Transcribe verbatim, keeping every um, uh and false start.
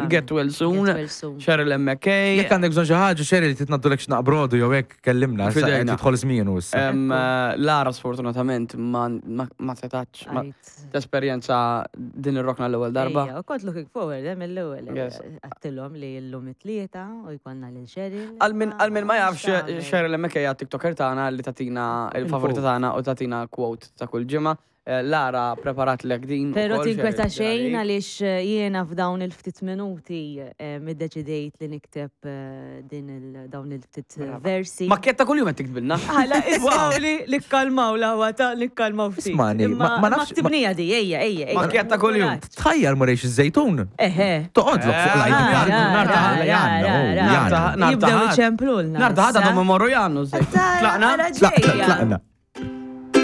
Get well soon. Get well soon. Cheryl M K. Jekk għandek bżonn xi ħaġa, Cheryl, titnaddulek x'naqbrodu jew hekk, kellimna, issa Fidejna. qed tidħol żmienu issa. Em, eh, Lara sfortunatament ma ma- ma setax ma Għajt. tesperjenza din ir-rokna l-ewwel darba. Ejja, u kont looking forward, eh, mill-ewwel. Yes. Għedtilhom li llum it-Tlieta u jkollna lil Cheryl. Għal min għal min ma jafx, X'tagħmel? Cheryl M K hija TikToker tagħna li tatina il-favorita tagħna u tatina quote ta' kull ġimgħa. Eh, Lara preparat lek din Pero ukoll, tinkweta Cheryl, xejn għalik. għaliex eh, jiena f'dawn il-ftit minuti eh, middeċidejt li nikteb eh, din il dawn il-ftit eh, versi. Makketta kull jum qed tiktbilna. Għala, ismaw li li kkalmaw l-ħwa ta' li kkalmaw ftit. Ismani, ma- ma nafx- Ktibnija di, ejja, ejja, ejja. Makketta kull-jum. Tħajjar murejx iż-żejtun. Eħe. Toqgħodlok fuq l-I D card. Ra, Nar ra, ta' ra, jannu, ra, ra. jannu. Nar Jibdew ta' iċemplulna. Nar ta' ħadd issa. għadhom imorru jannu. Tara, Tlaqna? ara Tlaqna, ġejja. tlaqna.